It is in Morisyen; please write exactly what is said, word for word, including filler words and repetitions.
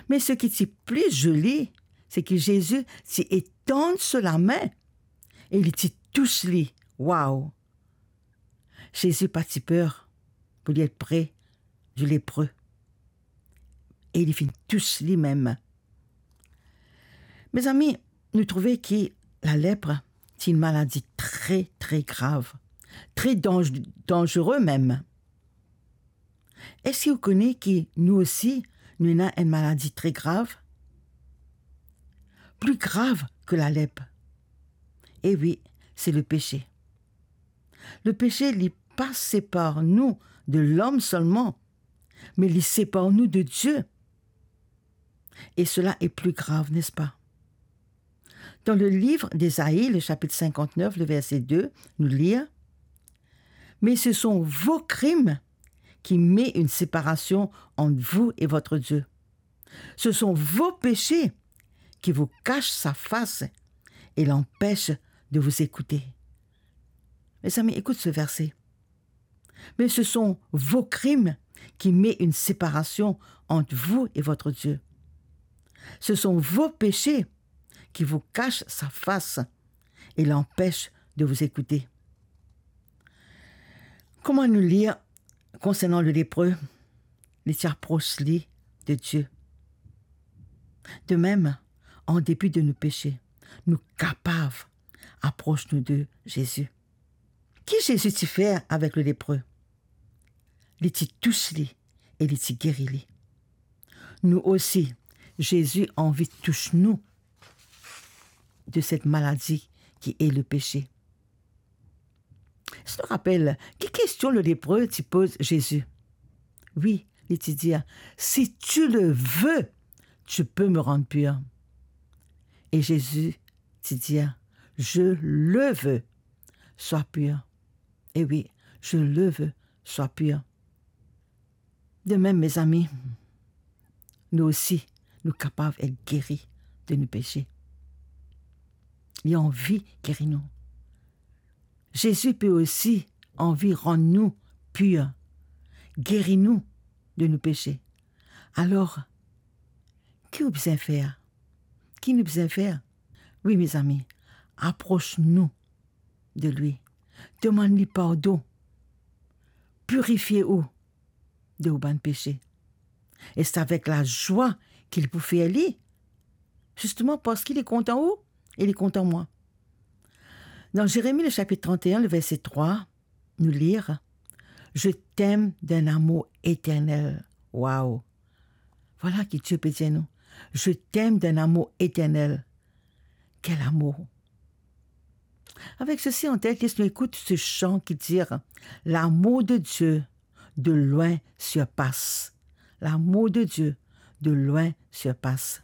Me seki ti pli zoli, se ki Zezi ti etann so lame e li ti tous li. Waw! Zezi pa ti per pou li et pre di lepre. E li finn tous li mem. Mezami, nou trouve ki lalepre ti enn maladi tre, tre grav, tre danz-, danzere mem. Eski ou kone ki nou osi, nou ena enn maladi tre grav? Pli grav ki lalepre. E wi, se lepese. Lepese, li pa separ nou de lom selman, me li separ nou de Die. E sela e pli grav, nespa? Dan le liv Ezayi, le sapit sinkantnef, le verse de, nou lir, "Mais ce sont vos crimes qui met une séparation entre vous et votre Dieu. Ce sont vos péchés qui vous cachent sa face et l'empêchent de vous écouter." Mezami, ekout se verse. "Mais ce sont vos crimes qui met une séparation entre vous et votre Dieu. Ce sont vos péchés qui vous cachent sa face et l'empêchent de vous écouter." Kouma nou lir konsernan le lepre, li ti apros li de Die. De mem, an depi de nou pese, nou kapav apros nou de Zezi. Ki Zezi ti fer avek le lepre? Li ti tous li e li ti geri li. Nou osi, Zezi anvi tous nou de set maladi ki e lepese. Si nou rapel, ki kestion le lepre ti poz Zezi? Wi, li ti dir, "Si tu le veux, tu peux me rendre pur." E Zezi ti dir, "Je le veux, sois pur." E wi, "Je le veux, sois pur." De mem, mezami, nou osi, nou kapav et geri de nou pese. Li anvi geri nou. Zezi pe osi anvi rann nou pir, geri nou de nou pese. Alor, ki ou bizin fer? Ki nou bizin fer? Wi, mezami, apros nou de li, demann li pardon, pirifie ou de ou bann pese. E se avek lazwa ki li pou fer li, zisteman parski li kontan ou e li kontan mwa. Dan Zeremi, le sapit trant-e-enn, le verse trwa, nou lir, "Je t'aime d'un amour éternel." Waw! Vwala ki Die pe dir nou, "Je t'aime d'un amour éternel." Kel amour! Avek sesi an tet, les nou ekout se san ki dir, "L'amour de Dieu de loin surpasse. L'amour de Dieu de loin surpasse."